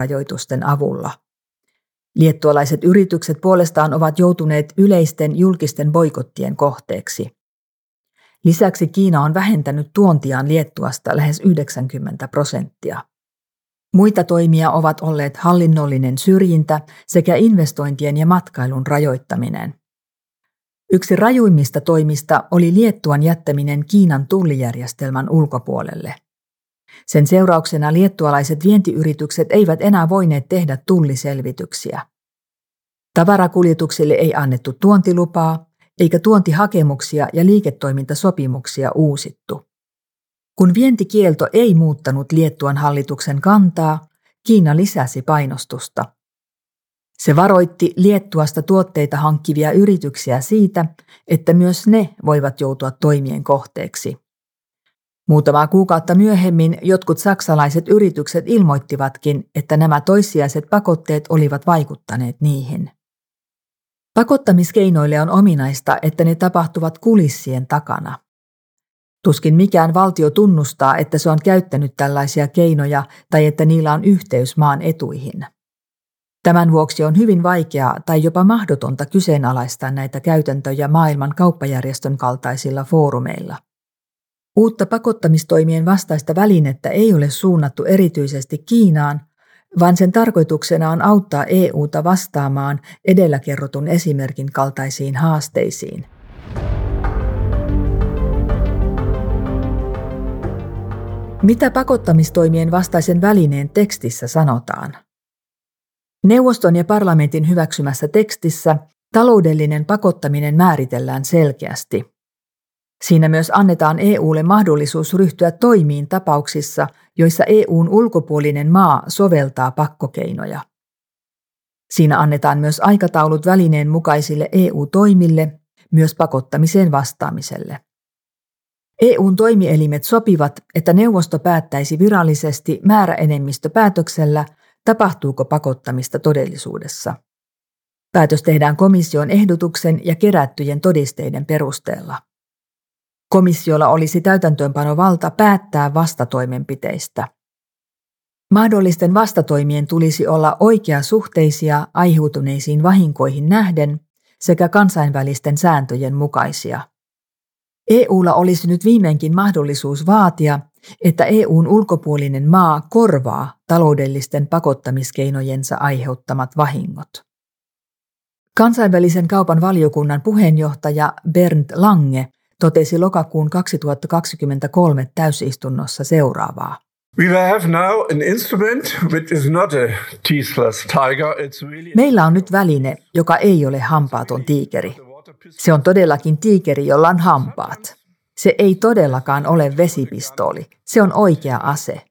Rajoitusten avulla. Liettualaiset yritykset puolestaan ovat joutuneet yleisten julkisten boikottien kohteeksi. Lisäksi Kiina on vähentänyt tuontiaan Liettuasta lähes 90%. Muita toimia ovat olleet hallinnollinen syrjintä sekä investointien ja matkailun rajoittaminen. Yksi rajuimmista toimista oli Liettuan jättäminen Kiinan tullijärjestelmän ulkopuolelle. Sen seurauksena liettualaiset vientiyritykset eivät enää voineet tehdä tulliselvityksiä. Tavarakuljetuksille ei annettu tuontilupaa, eikä tuontihakemuksia ja liiketoimintasopimuksia uusittu. Kun vientikielto ei muuttanut Liettuan hallituksen kantaa, Kiina lisäsi painostusta. Se varoitti Liettuasta tuotteita hankkivia yrityksiä siitä, että myös ne voivat joutua toimien kohteeksi. Muutamaa kuukautta myöhemmin jotkut saksalaiset yritykset ilmoittivatkin, että nämä toissijaiset pakotteet olivat vaikuttaneet niihin. Pakottamiskeinoille on ominaista, että ne tapahtuvat kulissien takana. Tuskin mikään valtio tunnustaa, että se on käyttänyt tällaisia keinoja tai että niillä on yhteys maan etuihin. Tämän vuoksi on hyvin vaikeaa tai jopa mahdotonta kyseenalaistaa näitä käytäntöjä maailman kauppajärjestön kaltaisilla foorumeilla. Uutta pakottamistoimien vastaista välinettä ei ole suunnattu erityisesti Kiinaan, vaan sen tarkoituksena on auttaa EU:ta vastaamaan edellä kerrotun esimerkin kaltaisiin haasteisiin. Mitä pakottamistoimien vastaisen välineen tekstissä sanotaan? Neuvoston ja parlamentin hyväksymässä tekstissä taloudellinen pakottaminen määritellään selkeästi. Siinä myös annetaan EU:lle mahdollisuus ryhtyä toimiin tapauksissa, joissa EU:n ulkopuolinen maa soveltaa pakkokeinoja. Siinä annetaan myös aikataulut välineen mukaisille EU-toimille, myös pakottamiseen vastaamiselle. EU:n toimielimet sopivat, että neuvosto päättäisi virallisesti määräenemmistöpäätöksellä, tapahtuuko pakottamista todellisuudessa. Päätös tehdään komission ehdotuksen ja kerättyjen todisteiden perusteella. Komissiolla olisi täytäntöönpanovalta päättää vastatoimenpiteistä. Mahdollisten vastatoimien tulisi olla oikeasuhteisia aiheutuneisiin vahinkoihin nähden sekä kansainvälisten sääntöjen mukaisia. EU:lla olisi nyt viimeinkin mahdollisuus vaatia, että EU:n ulkopuolinen maa korvaa taloudellisten pakottamiskeinojensa aiheuttamat vahingot. Kansainvälisen kaupan valiokunnan puheenjohtaja Bernd Lange totesi lokakuun 2023 täysistunnossa seuraavaa. We have now an instrument which is not a teethless tiger. It's really Meillä on nyt väline, joka ei ole hampaaton tiikeri. Se on todellakin tiikeri, jolla on hampaat. Se ei todellakaan ole vesipistooli. Se on oikea ase.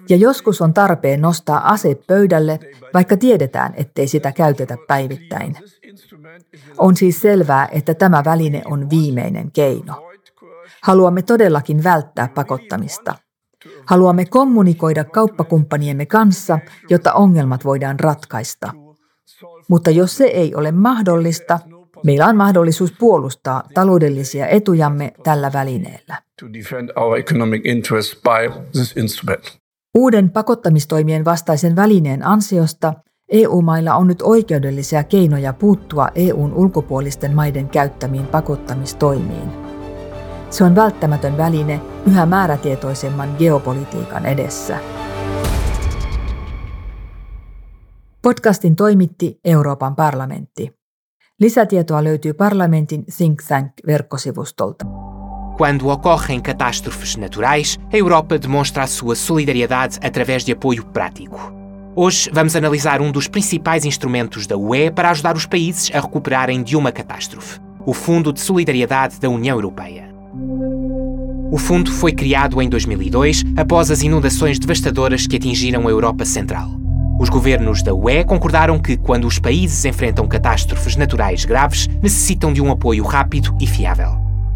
Ja joskus on tarpeen nostaa ase pöydälle, vaikka tiedetään, ettei sitä käytetä päivittäin. On siis selvää, että tämä väline on viimeinen keino. Haluamme todellakin välttää pakottamista. Haluamme kommunikoida kauppakumppaniemme kanssa, jotta ongelmat voidaan ratkaista. Mutta jos se ei ole mahdollista, meillä on mahdollisuus puolustaa taloudellisia etujamme tällä välineellä. To defend our economic interests by this instrument. Uuden pakottamistoimien vastaisen välineen ansiosta E U-mailla on nyt oikeudellisia keinoja puuttua E U:n ulkopuolisten maiden käyttämiin pakottamistoimiin. Se on välttämätön väline yhä määrätietoisemman geopolitiikan edessä. Podcastin toimitti Euroopan parlamentti. Lisätietoa löytyy parlamentin Think Tank-verkkosivustolta. Quando ocorrem catástrofes naturais, a Europa demonstra a sua solidariedade através de apoio prático. Hoje vamos analisar um dos principais instrumentos da UE para ajudar os países a recuperarem de uma catástrofe, o Fundo de Solidariedade da União Europeia. O fundo foi criado em 2002, após as inundações devastadoras que atingiram a Europa Central. Os governos da UE concordaram que, quando os países enfrentam catástrofes naturais graves, necessitam de um apoio rápido e fiável.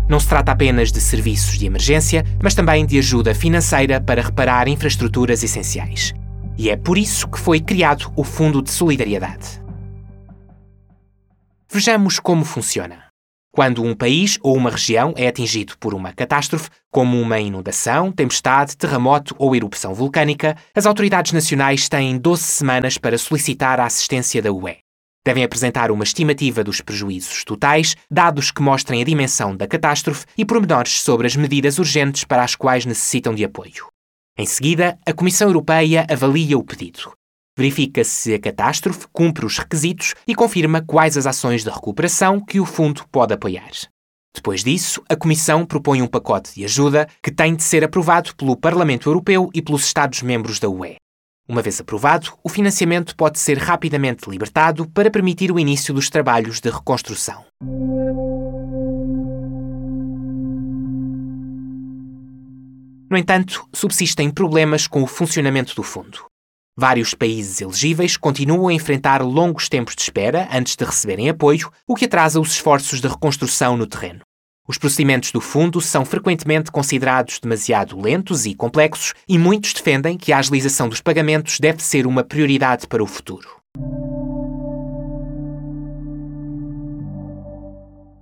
Não se trata apenas de serviços de emergência, mas também de ajuda financeira para reparar infraestruturas essenciais. E é por isso que foi criado o Fundo de Solidariedade. Vejamos como funciona. Quando um país ou uma região é atingido por uma catástrofe, como uma inundação, tempestade, terremoto ou erupção vulcânica, as autoridades nacionais têm 12 semanas para solicitar a assistência da UE. Devem apresentar uma estimativa dos prejuízos totais, dados que mostrem a dimensão da catástrofe e pormenores sobre as medidas urgentes para as quais necessitam de apoio. Em seguida, a Comissão Europeia avalia o pedido. Verifica se a catástrofe cumpre os requisitos e confirma quais as ações de recuperação que o fundo pode apoiar. Depois disso, a Comissão propõe um pacote de ajuda que tem de ser aprovado pelo Parlamento Europeu e pelos Estados-membros da UE. Uma vez aprovado, o financiamento pode ser rapidamente libertado para permitir o início dos trabalhos de reconstrução. No entanto, subsistem problemas com o funcionamento do fundo. Vários países elegíveis continuam a enfrentar longos tempos de espera antes de receberem apoio, o que atrasa os esforços de reconstrução no terreno. Os procedimentos do fundo são frequentemente considerados demasiado lentos e complexos e muitos defendem que a agilização dos pagamentos deve ser uma prioridade para o futuro.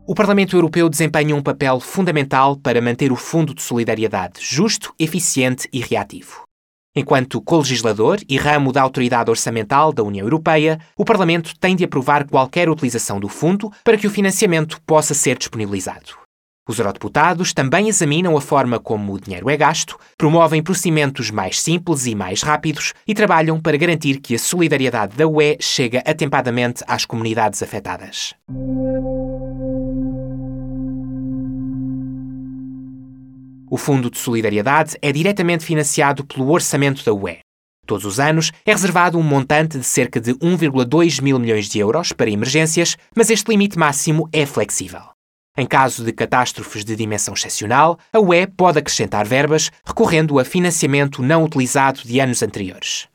O Parlamento Europeu desempenha um papel fundamental para manter o Fundo de Solidariedade justo, eficiente e reativo. Enquanto colegislador e ramo da autoridade orçamental da União Europeia, o Parlamento tem de aprovar qualquer utilização do fundo para que o financiamento possa ser disponibilizado. Os eurodeputados também examinam a forma como o dinheiro é gasto, promovem procedimentos mais simples e mais rápidos e trabalham para garantir que a solidariedade da UE chega atempadamente às comunidades afetadas. O Fundo de Solidariedade é diretamente financiado pelo orçamento da UE. Todos os anos é reservado um montante de cerca de 1,2 mil milhões de euros para emergências, mas este limite máximo é flexível. Em caso de catástrofes de dimensão excepcional, a UE pode acrescentar verbas recorrendo a financiamento não utilizado de anos anteriores.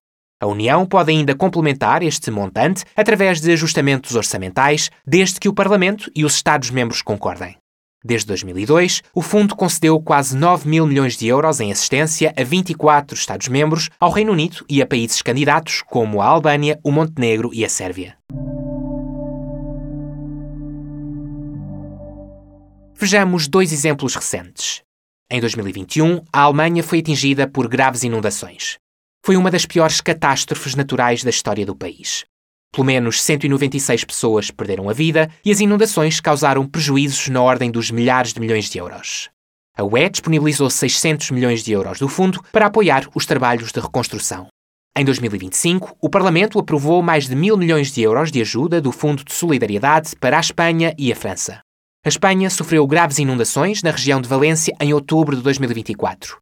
A União pode ainda complementar este montante através de ajustamentos orçamentais, desde que o Parlamento e os Estados-membros concordem. Desde 2002, o fundo concedeu quase 9 mil milhões de euros em assistência a 24 Estados-membros, ao Reino Unido e a países candidatos como a Albânia, o Montenegro e a Sérvia. Vejamos dois exemplos recentes. Em 2021, a Alemanha foi atingida por graves inundações. Foi uma das piores catástrofes naturais da história do país. Pelo menos 196 pessoas perderam a vida e as inundações causaram prejuízos na ordem dos milhares de milhões de euros. A UE disponibilizou 600 milhões de euros do fundo para apoiar os trabalhos de reconstrução. Em 2025, o Parlamento aprovou mais de 1.000 milhões de euros de ajuda do Fundo de Solidariedade para a Espanha e a França. A Espanha sofreu graves inundações na região de Valência em outubro de 2024.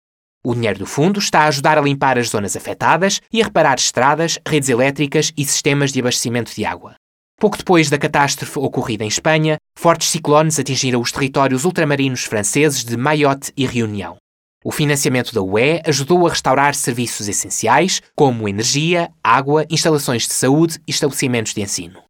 O dinheiro do fundo está a ajudar a limpar as zonas afetadas e a reparar estradas, redes elétricas e sistemas de abastecimento de água. Pouco depois da catástrofe ocorrida em Espanha, fortes ciclones atingiram os territórios ultramarinos franceses de Mayotte e Reunião. O financiamento da UE ajudou a restaurar serviços essenciais, como energia, água, instalações de saúde e estabelecimentos de ensino.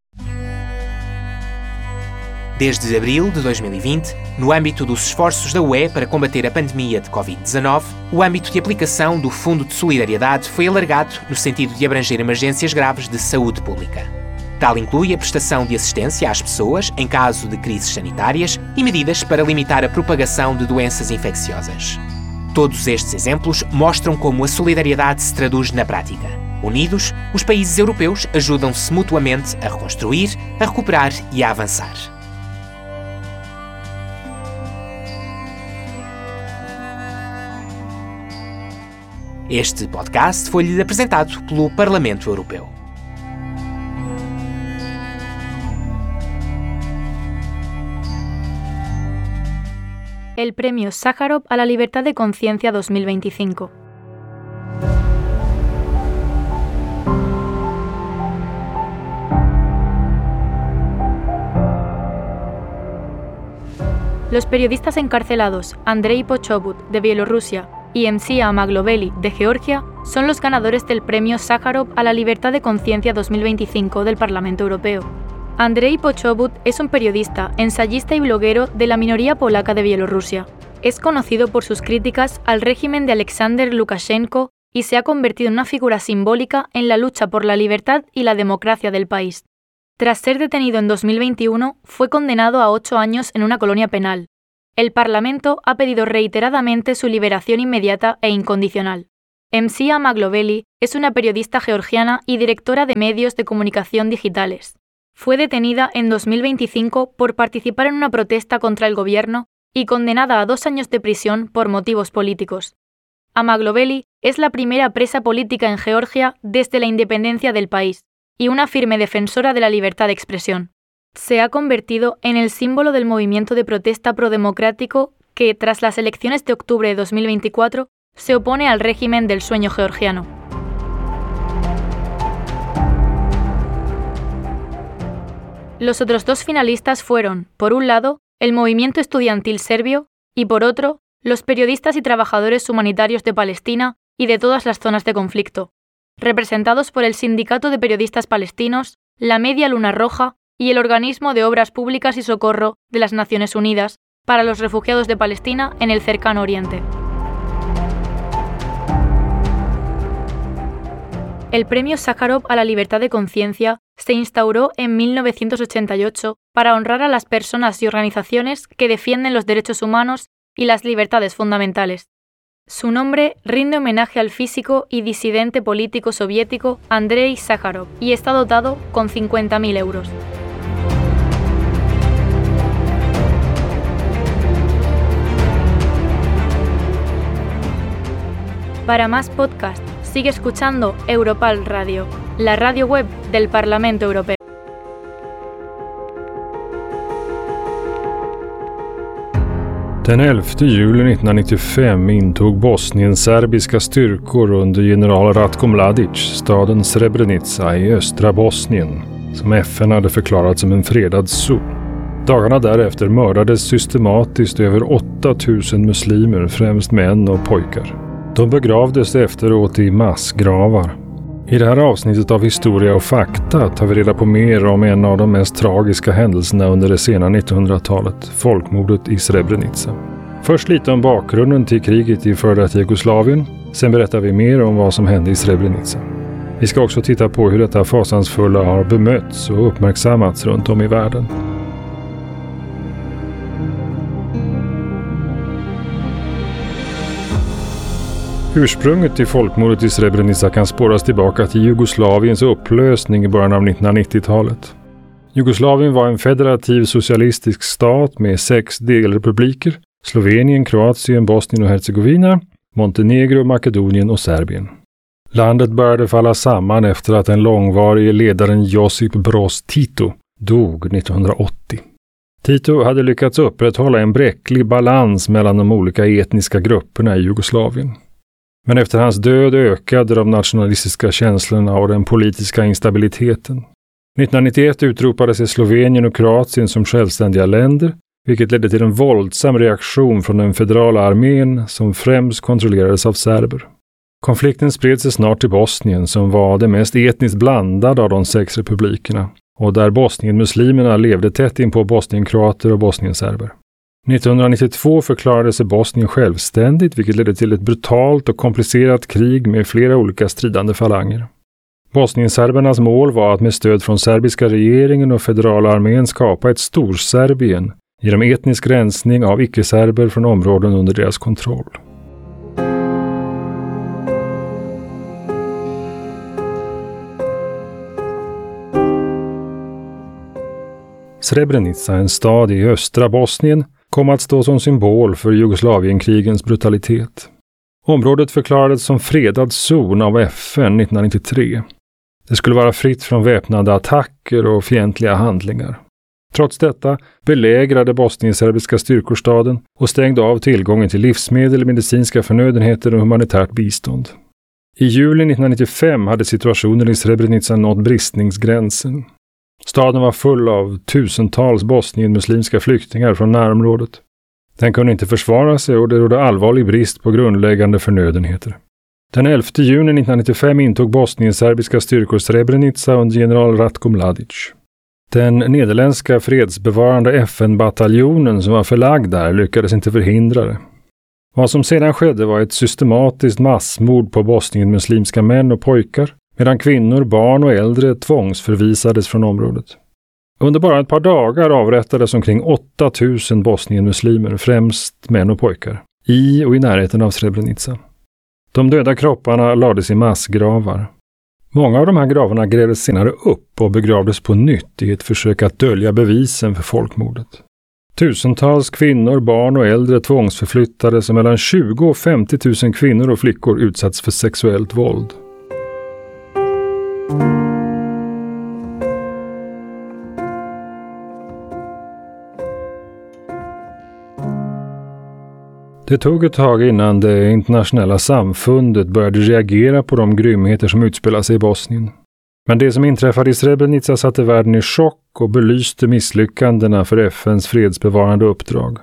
Desde abril de 2020, no âmbito dos esforços da UE para combater a pandemia de Covid-19, o âmbito de aplicação do Fundo de Solidariedade foi alargado no sentido de abranger emergências graves de saúde pública. Tal inclui a prestação de assistência às pessoas em caso de crises sanitárias e medidas para limitar a propagação de doenças infecciosas. Todos estes exemplos mostram como a solidariedade se traduz na prática. Unidos, os países europeus ajudam-se mutuamente a reconstruir, a recuperar e a avançar. Este podcast foi-lhe apresentado pelo Parlamento Europeu. El Premio Sájarov a la Libertad de Conciencia 2025. Los periodistas encarcelados Andrei Pochobut, de Bielorrusia, y Mzia Amaglobeli, de Georgia, son los ganadores del Premio Sájarov a la Libertad de Conciencia 2025 del Parlamento Europeo. Andrei Pochobut es un periodista, ensayista y bloguero de la minoría polaca de Bielorrusia. Es conocido por sus críticas al régimen de Alexander Lukashenko y se ha convertido en una figura simbólica en la lucha por la libertad y la democracia del país. Tras ser detenido en 2021, fue condenado a 8 años en una colonia penal. El Parlamento ha pedido reiteradamente su liberación inmediata e incondicional. Mzia Amaglobeli es una periodista georgiana y directora de medios de comunicación digitales. Fue detenida en 2025 por participar en una protesta contra el gobierno y condenada a 2 años de prisión por motivos políticos. Amaglobeli es la primera presa política en Georgia desde la independencia del país y una firme defensora de la libertad de expresión. Se ha convertido en el símbolo del movimiento de protesta prodemocrático que, tras las elecciones de octubre de 2024, se opone al régimen del sueño georgiano. Los otros dos finalistas fueron, por un lado, el movimiento estudiantil serbio y, por otro, los periodistas y trabajadores humanitarios de Palestina y de todas las zonas de conflicto, representados por el Sindicato de Periodistas Palestinos, la Media Luna Roja y el Organismo de Obras Públicas y Socorro de las Naciones Unidas para los Refugiados de Palestina en el Cercano Oriente. El premio Sájarov a la libertad de conciencia se instauró en 1988 para honrar a las personas y organizaciones que defienden los derechos humanos y las libertades fundamentales. Su nombre rinde homenaje al físico y disidente político soviético Andrei Sájarov y está dotado con 50.000 euros. Para más podcast, sigue escuchando Europarl Radio, la radio web del Parlamento Europeo. Den 11 juli 1995 intog bosnienserbiska styrkor under general Ratko Mladic staden Srebrenica i östra Bosnien, som FN hade förklarat som en fredad zon. Dagarna därefter mördades systematiskt över 8000 muslimer, främst män och pojkar. De begravdes efteråt i massgravar. I det här avsnittet av Historia och fakta tar vi reda på mer om en av de mest tragiska händelserna under det sena 1900-talet, folkmordet i Srebrenica. Först lite om bakgrunden till kriget i före detta Jugoslavien, sen berättar vi mer om vad som hände i Srebrenica. Vi ska också titta på hur detta fasansfulla har bemötts och uppmärksammats runt om i världen. Ursprunget till folkmordet i Srebrenica kan spåras tillbaka till Jugoslaviens upplösning i början av 1990-talet. Jugoslavien var en federativ socialistisk stat med sex delrepubliker: Slovenien, Kroatien, Bosnien och Hercegovina, Montenegro, Makedonien och Serbien. Landet började falla samman efter att den långvarige ledaren Josip Broz Tito dog 1980. Tito hade lyckats upprätthålla en bräcklig balans mellan de olika etniska grupperna i Jugoslavien. Men efter hans död ökade de nationalistiska känslorna och den politiska instabiliteten. 1991 utropade sig Slovenien och Kroatien som självständiga länder, vilket ledde till en våldsam reaktion från den federala armén som främst kontrollerades av serber. Konflikten spred sig snart till Bosnien som var det mest etniskt blandade av de sex republikerna och där bosnienmuslimerna levde tätt inpå bosnienkroater och bosnienserber. 1992 förklarade sig Bosnien självständigt, vilket ledde till ett brutalt och komplicerat krig med flera olika stridande falanger. Bosnienserbernas mål var att med stöd från serbiska regeringen och federala armén skapa ett Storserbien genom etnisk rensning av icke-serber från områden under deras kontroll. Srebrenica, en stad i östra Bosnien, kom att stå som symbol för Jugoslavienskrigens brutalitet. Området förklarades som fredad zon av FN 1993. Det skulle vara fritt från väpnade attacker och fientliga handlingar. Trots detta belägrade bosnienserbiska styrkor staden och stängde av tillgången till livsmedel, medicinska förnödenheter och humanitärt bistånd. I juli 1995 hade situationen i Srebrenica nått bristningsgränsen. Staden var full av tusentals bosnienmuslimska flyktingar från närområdet. Den kunde inte försvara sig och det rådde allvarlig brist på grundläggande förnödenheter. Den 11 juni 1995 intog bosnienserbiska styrkor Srebrenica under general Ratko Mladic. Den nederländska fredsbevarande FN-bataljonen som var förlagd där lyckades inte förhindra det. Vad som sedan skedde var ett systematiskt massmord på bosnienmuslimska män och pojkar, medan kvinnor, barn och äldre tvångsförvisades från området. Under bara ett par dagar avrättades omkring 8000 bosnienmuslimer, främst män och pojkar, i och i närheten av Srebrenica. De döda kropparna lades i massgravar. Många av de här gravarna grävdes senare upp och begravdes på nytt i ett försök att dölja bevisen för folkmordet. Tusentals kvinnor, barn och äldre tvångsförflyttades och mellan 20 och 50 000 kvinnor och flickor utsattes för sexuellt våld. Det tog ett tag innan det internationella samfundet började reagera på de grymheter som utspelade sig i Bosnien. Men det som inträffade i Srebrenica satte världen i chock och belyste misslyckandena för FNs fredsbevarande uppdrag.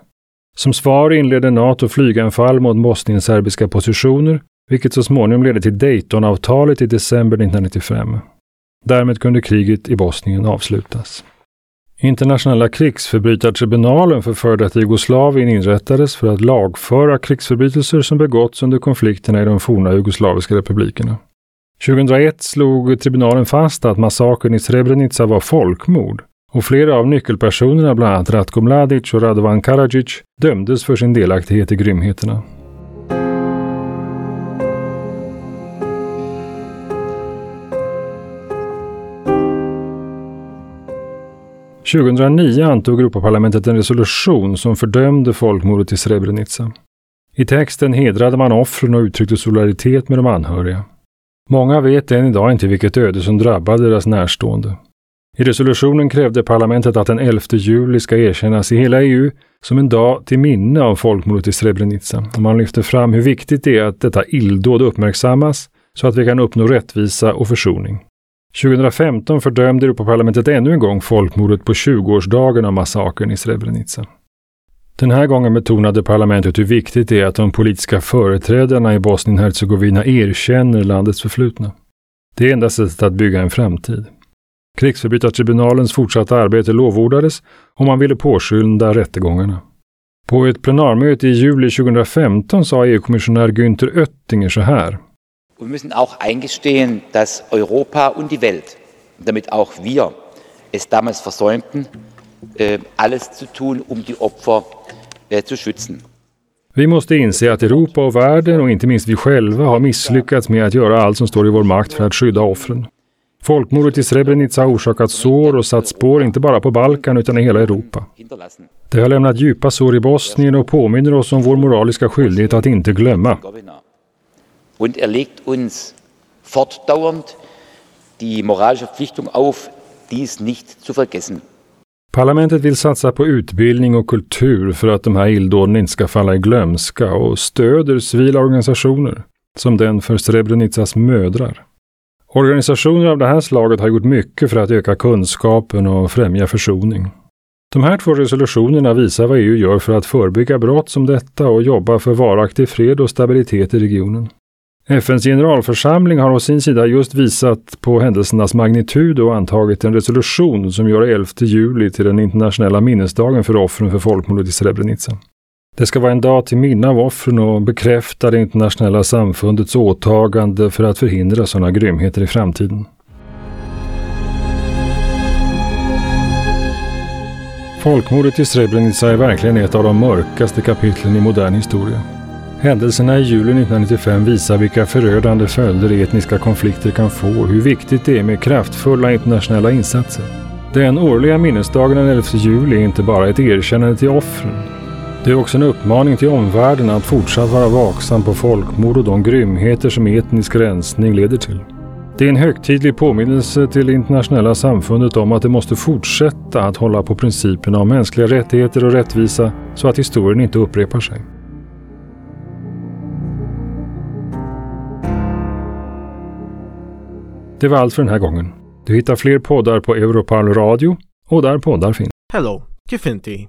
Som svar inledde NATO flyganfall mot bosnienserbiska positioner, vilket så småningom ledde till Daytonavtalet i december 1995. Därmed kunde kriget i Bosnien avslutas. Internationella krigsförbrytartribunalen för före detta Jugoslavien inrättades för att lagföra krigsförbrytelser som begåtts under konflikterna i de forna jugoslaviska republikerna. 2001 slog tribunalen fast att massakern i Srebrenica var folkmord och flera av nyckelpersonerna, bland annat Ratko Mladic och Radovan Karadzic, dömdes för sin delaktighet i grymheterna. –2009 antog Europaparlamentet en resolution som fördömde folkmordet i Srebrenica. I texten hedrade man offren och uttryckte solidaritet med de anhöriga. Många vet än idag inte vilket öde som drabbade deras närstående. I resolutionen krävde parlamentet att den 11 juli ska erkännas i hela EU som en dag till minne av folkmordet i Srebrenica. Och man lyfter fram hur viktigt det är att detta illdåd uppmärksammas så att vi kan uppnå rättvisa och försoning. 2015 fördömde Europaparlamentet ännu en gång folkmordet på 20-årsdagen av massakern i Srebrenica. Den här gången betonade parlamentet hur viktigt det är att de politiska företrädarna i Bosnien-Hercegovina erkänner landets förflutna. Det är enda sättet att bygga en framtid. Krigsförbrytartribunalens fortsatta arbete lovordades och man ville påskynda rättegångarna. På ett plenarmöte i juli 2015 sa EU-kommissionär Günther Oettinger så här. Und wir müssen auch eingestehen, dass Europa und die Welt, damit auch wir es damals versäumten, alles zu tun, um die Opfer zu schützen. Vi måste inse att Europa och världen och inte minst vi själva har misslyckats med att göra allt som står i vår makt för att skydda offren. Folkmordet i Srebrenica har orsakat sår och satt spår inte bara på Balkan utan i hela Europa. Det har lämnat djupa sår i Bosnien och påminner oss om vår moraliska skyldighet att inte glömma. Und er legt uns fortdauernd die moralische Verpflichtung auf, dies nicht zu vergessen. Parlamentet vill satsa på utbildning och kultur för att de här illdåden inte ska falla i glömska och stöder civila organisationer, som den för Srebrenicas mödrar. Organisationer av det här slaget har gjort mycket för att öka kunskapen och främja försoning. De här två resolutionerna visar vad EU gör för att förebygga brott som detta och jobba för varaktig fred och stabilitet i regionen. FNs generalförsamling har å sin sida just visat på händelsernas magnitud och antagit en resolution som gör 11 juli till den internationella minnesdagen för offren för folkmordet i Srebrenica. Det ska vara en dag till minne av offren och bekräfta det internationella samfundets åtagande för att förhindra sådana grymheter i framtiden. Folkmordet i Srebrenica är verkligen ett av de mörkaste kapitlen i modern historia. Händelserna i juli 1995 visar vilka förödande följder etniska konflikter kan få och hur viktigt det är med kraftfulla internationella insatser. Den årliga minnesdagen den 11 juli är inte bara ett erkännande till offren. Det är också en uppmaning till omvärlden att fortsatt vara vaksam på folkmord och de grymheter som etnisk rensning leder till. Det är en högtidlig påminnelse till det internationella samfundet om att det måste fortsätta att hålla på principerna om mänskliga rättigheter och rättvisa så att historien inte upprepar sig. Det var allt för den här gången. Du hittar fler poddar på Europarl Radio och där poddar finns. Hello, kif inti?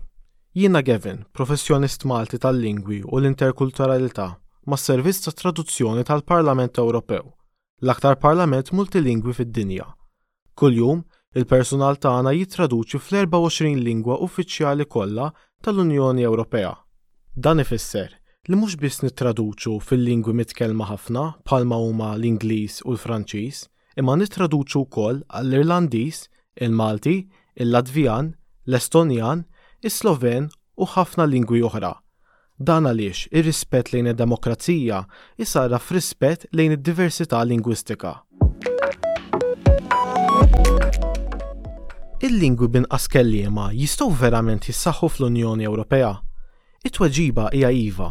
Jiena Gavin, professjonist Malti tal-lingwi u l-interkulturalità mas-Servizz ta' Traduzzjoni tal-Parlament Ewropew, l-aktar parlament multilingwi fid-dinja. Kuljum, il-persunal tagħna jittraduċi fl-24 lingwa uffiċjali kollha tal-Unjoni Ewropea. Dan ifisser li mhux biss nittraduċu fil-lingwi mitkellma ħafna bħalma huma l-Ingliż u l-Franċiż, imma nittraduċu wkoll għall-Irlandiż, il-Malti, il-Latvjan, l-Estonjan, is-Sloven u ħafna lingwi oħra. Dan għaliex ir-rispett lejn id-demokrazija jsarraf f'rispett lejn id-diversità lingwistika. Il-lingwi b'inqas kelliema jistgħu verament jissaħħu fl-Unjoni Ewropea? It-tweġiba hija iva.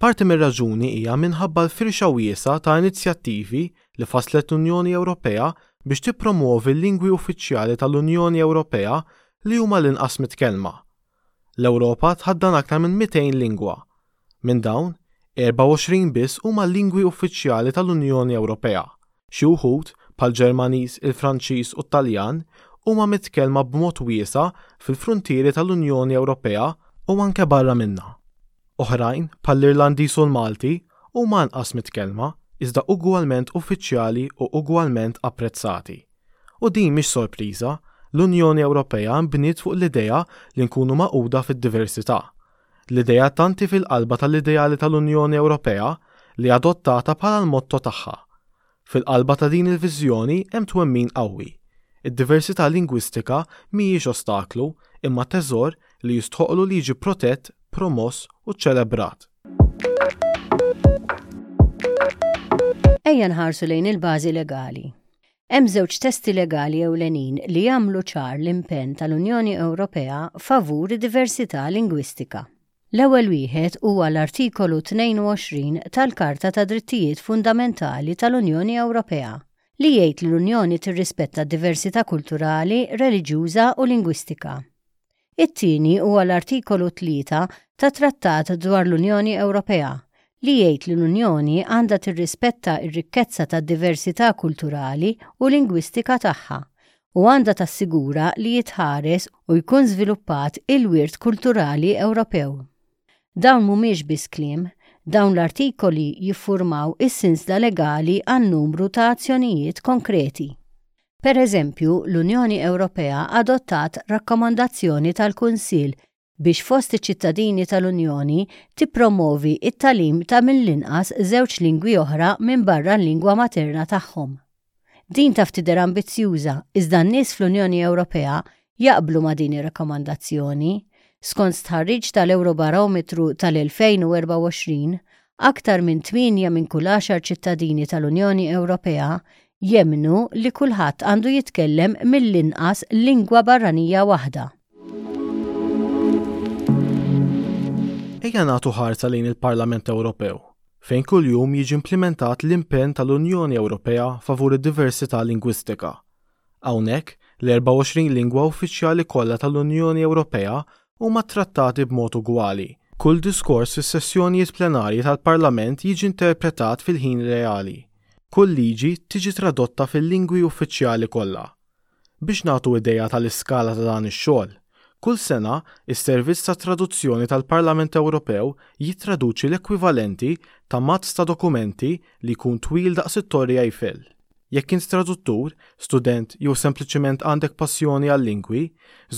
Parti mir-raġuni hija minħabba l-firxa wiesgħa ta' inizjattivi li fasslet l-Unjoni Ewropea biex tippromwovi l-lingwi uffiċjali tal-Unjoni Ewropea li huma l-inqas mitkellma. L-Ewropa tħaddan aktar minn 200 lingwa. Minn dawn, 24 biss huma lingwi uffiċjali tal-Unjoni Ewropea. Xi wħud, bħall-Ġermaniż, il-Franċiż u t-Taljan, huma mitkellma b'mod wiesa' fil-fruntieri tal-Unjoni Ewropea u anke barra minnha. Oħrajn, bħall-Irlandiż u l-Malti, huma anqas mitkellma, iżda ugwalment uffiċjali u ugwalment apprezzati. U din mhix sorpriża, l-Unjoni Ewropea nbniet fuq l-idea li nkunu magħquda fid-diversità. L-idea tant hi fil-qalba tal-ideali tal-Unjoni Ewropea li adottata bħala l-motto tagħha. Fil-qalba ta' din il-viżjoni hemm twemmin qawwi. Id-diversità lingwistika mhijiex ostaklu, imma teżor li jistħoqqlu li jiġi protett, promoss u ċċelebrat. Ejja nħarsu lejn il-bażi legali. Hemm żewġ testi legali ewlenin li jagħmlu ċar l-impenn tal-Unjoni Ewropea favur id-diversità lingwistika. L-ewwel wieħed huwa l-Artikolu 22 tal-Karta tad-Drittijiet Fundamentali tal-Unjoni Ewropea, li jgħid li l-Unjoni tirrispetta d-diversità kulturali, reliġjuża u lingwistika. It-tieni huwa l-Artikolu 3 tat-Trattat dwar l-Unjoni Ewropea, li jgħid li l-Unjoni għandha tirrispetta r-rikkezza tad-diversità kulturali u lingwistika tagħha u għandha tassigura li jitħares u jkun żviluppat il-wirt kulturali Ewropew. Dawn mhumiex biss kliem, dawn l-artikoli jiffurmaw is-sinsla legali għal numru ta' azzjonijiet konkreti. Per eżempju, l-Unjoni Ewropea adottat Rakkomandazzjoni tal-Kunsill biex fost iċ-ċittadini tal-Unjoni tippromovi t-tagħlim ta' mill-inqas żewġ lingwi oħra minbarra l-lingwa materna tagħhom. Din taf tidher ambizzjuża, iżda n-nies fl-Unjoni Ewropea jaqblu ma' din ir-rakkomandazzjoni. Skont stħarriġ tal-Ewrobarometru tal-2024, aktar minn tmienja minn kull għaxar ċittadini tal-Unjoni Ewropea jemmnu li kulħadd għandu jitkellem mill-inqas lingwa barranija waħda. Ejja nagħtu ħarsa lejn il-Parlament Ewropew, fejn kuljum jiġi implimentat l-impenn tal-Unjoni Ewropea favur id-diversità lingwistika. Hawnhekk, l-24 lingwa uffiċjali kollha tal-Unjoni Ewropea huma ttrattati b'mod ugwali. Kull diskors fis-sessjonijiet plenarji tal-Parlament jiġi interpretat fil-ħin reali. Kull liġi tiġi tradotta fil-lingwi uffiċjali kollha. Biex nagħtu idea tal-iskala ta' dan ix-xogħol, kull sena, is-Servizz tat-Traduzzjoni tal-Parlament Ewropew jittraduċi l-ekwivalenti ta' mazz ta' dokumenti li jkun twil daqs it-Torri Eiffel. Jekk int traduttur, student jew sempliċement għandek passjoni għal-lingwi,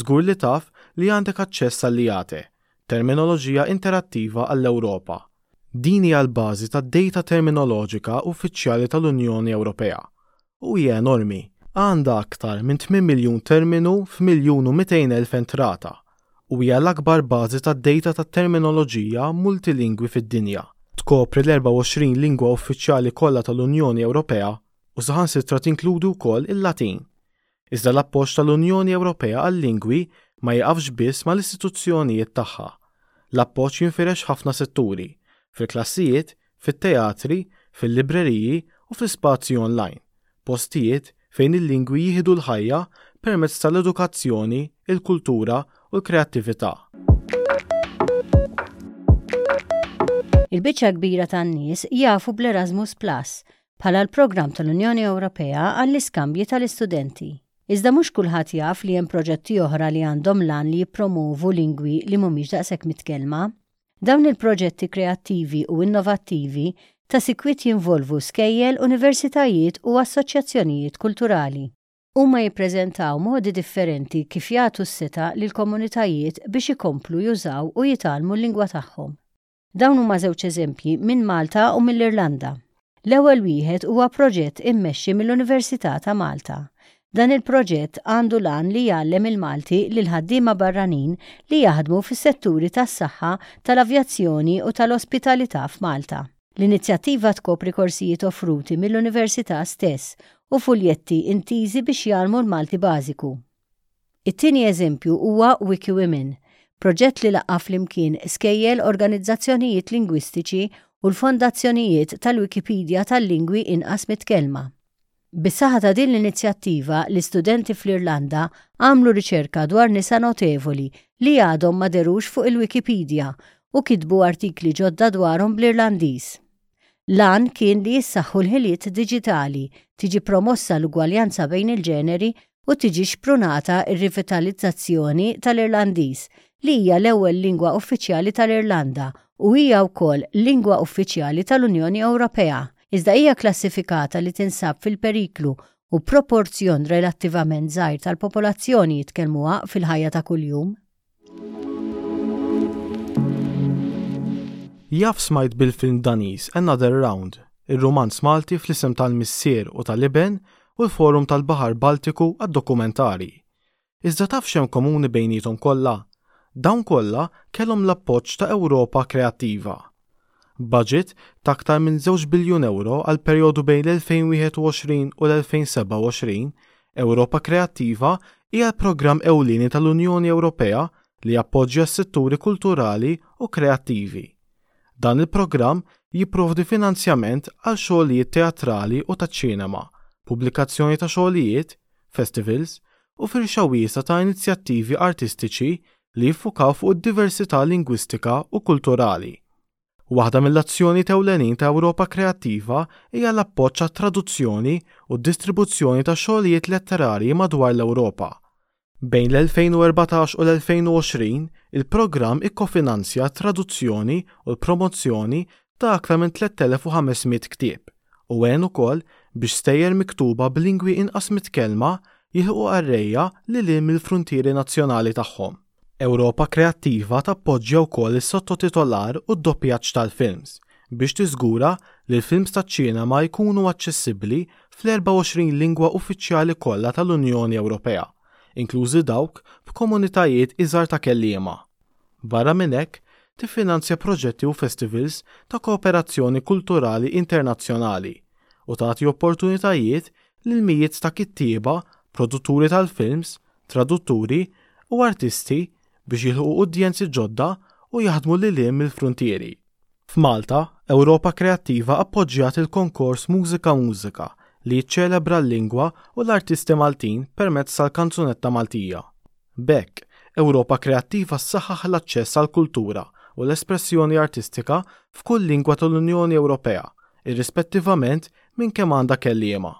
żgur li taf li għandek aċċess għall-IATE, Terminoloġija Interattiva għall-Ewropa. Din hija l-bażi tad-dejta terminoloġika uffiċjali tal-Unjoni Ewropea u hija enormi, għandha aktar minn 8 miljun terminu f'miljun u 200 elf entrata u hija l-akbar bażi tad-dejta tat-terminoloġija multilingwi fid-dinja. Tkopri l-24 lingwa uffiċjali kollha tal-Unjoni Ewropea u saħansitra tinkludi wkoll il-Latin. Iżda l-appoġġ tal-Unjoni Ewropea għal-lingwi ma jiqafx biss mal-istituzzjonijiet tagħha. L-appoġġ jinfirex f'ħafna setturi, fil-klassijiet, fit-teatri, fil-libreriji u fl-ispazji online, postijiet fejn il-lingwi jieħdu l-ħajja permezz tal-edukazzjoni, il-kultura u l-kreattività. Il-biċċa l-kbira tan-nies jafu bl-Erasmus Plus bħala l-programm tal-Unjoni Ewropea għall-iskambji tal-istudenti. Iżda mhux kulħadd jaf li hemm proġetti oħra li għandhom l-għan li jippromovu lingwi li mhumiex daqshekk mitkellma. Dawn il-proġetti kreattivi u innovattivi ta' sikwit jinvolvu skejjel, universitajiet u assoċjazzjonijiet kulturali. Huma jippreżentaw modi differenti kif jagħtu s-setgħa lill-komunitajiet biex ikomplu jużaw u jitgħallmu l-lingwa tagħhom. Dawn huma żewġ eżempji minn Malta u mill-Irlanda. L-ewwel wieħed huwa proġett immexxi mill-Università ta' Malta. Dan il-proġett għandu l-għan li jgħallem il-Malti lil ħaddiema barranin li jaħdmu fis-setturi tas-saħħa, tal-avjazzjoni u tal-ospitalità f'Malta. L-inizjattiva tkopri korsijiet offruti mill-Università stess u fuljetti intiżi biex jgħallmu l-Malti bażiku. It-tieni eżempju huwa WikiWomen, proġett li laqqa' flimkien skejjel, organizzazzjonijiet lingwistiċi u l-fondazzjonijiet tal-Wikipedia tal-lingwi inqas mitkellma. Bis-saħħa ta' din l-inizjattiva, l-istudenti fl-Irlanda għamlu riċerka dwar nisa notevoli li għadhom ma dherux fuq il-Wikipedia u kitbu artikli ġodda dwarhom bl-Irlandiż. L-għan kien li jissaħħu l-ħiliet diġitali, tiġi promossa l-ugwaljanza bejn il-ġeneri u tiġi xprunata r-rivitalizzazzjoni tal-Irlandiż, li hija l-ewwel lingwa uffiċjali tal-Irlanda u hija wkoll lingwa uffiċjali tal-Unjoni Ewropea, iżda hija kklassifikata li tinsab fil-periklu u proporzjon relattivament żgħir tal-popolazzjoni jitkellmuha fil-ħajja ta' kuljum. Jaf smajt bil-film Daniż Another Round, ir-rumanz Malti Fl-Isem tal-Missier u tal-Iben u l-Forum tal-Baħar Baltiku għad-Dokumentarji. Iżda taf x'hemm komuni bejniethom kollha? Dawn kollha kellhom l-appoġġ ta' Ewropa Kreattiva. Budget ta' aktar minn żewġ biljun ewro għall-perjodu bejn l-2021 u l-2027, Ewropa Kreattiva hija l-programm ewlieni tal-Unjoni Ewropea li jappoġġja s-setturi kulturali u kreattivi. Dan il-programm jipprovdi finanzjament għal xogħlijiet teatrali u taċ-ċinema, pubblikazzjoni ta' xogħlijiet, festivals, u firxa wiesgħa ta' inizjattivi artistiċi li jiffukaw fuq id-diversità lingwistika u kulturali. Waħda mill-azzjonijiet ewlenin ta' Ewropa Kreattiva hija l-appoġġ għat-traduzzjoni u d-distribuzzjoni ta' xogħlijiet letterarji madwar l-Ewropa. Bejn l-2014 u l-2020, il-programm ikkofinanzja t-traduzzjoni u l-promozzjoni ta' aktar minn 3,500 ktieb u għen ukoll biex stejjer miktuba b'lingwi inqas mitkellma jilħqu qarrejja lil hinn mill-fruntieri nazzjonali tagħhom. Ewropa Kreattiva tappoġġja wkoll is-sottotitolar u d-doppjaġġ tal-films biex tiżgura li l-films taċ-ċinema jkunu aċċessibbli fl-24 lingwa uffiċjali kollha tal-Unjoni Ewropea, inklużi dawk b'komunitajiet iżgħar ta' kelliema. Barra minn hekk, tiffinanzja proġetti u festivals ta' kooperazzjoni kulturali internazzjonali u tagħti opportunitajiet lil mijiet ta' kittieba, produtturi tal-films, tradutturi u artisti biex jilħqu udjenzi ġodda u jaħdmu lil hinn mill-fruntieri. F'Malta, Ewropa Kreattiva appoġġjat il-konkors Mużika Mużika li jiċċelebra l-lingwa u l-artisti Maltin permezz tal-kanzunetta Maltija. B'hekk, Ewropa Kreattiva ssaħħaħ l-aċċess għall-kultura u l-espressjoni artistika f'kull lingwa tal-Unjoni Ewropea, irrispettivament minn kemm għandha kelliema.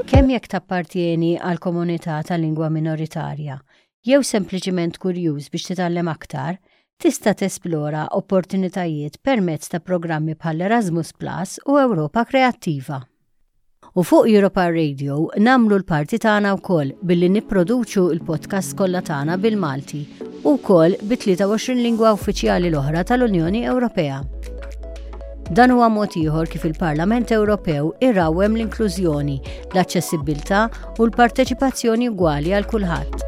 Kemm jekk tappartjeni għal komunità ta' lingwa minoritarja, jew sempliċiment kurjuż biex titgħallem aktar, tista' tesplora opportunitajiet permezz ta' programmi bħal Erasmus Plus u Ewropa Kreattiva. U fuq Europa Radio nagħmlu l-parti tagħna wkoll billi nipproduċu l-podcasts kollha tagħna bil-Malti u wkoll bi 23 lingwa uffiċjali l-oħra tal-Unjoni Ewropea. Dan huwa mod ieħor kif il-Parlament Ewropew irawwem l-inklużjoni, l-aċċessibbiltà u l-parteċipazzjoni ugwali għal kulħadd.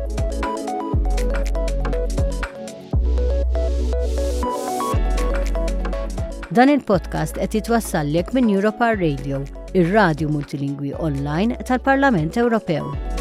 Dan il-podcast qed jitwassallek minn Europa Radio, ir-radju multilingwi online tal-Parlament Ewropew.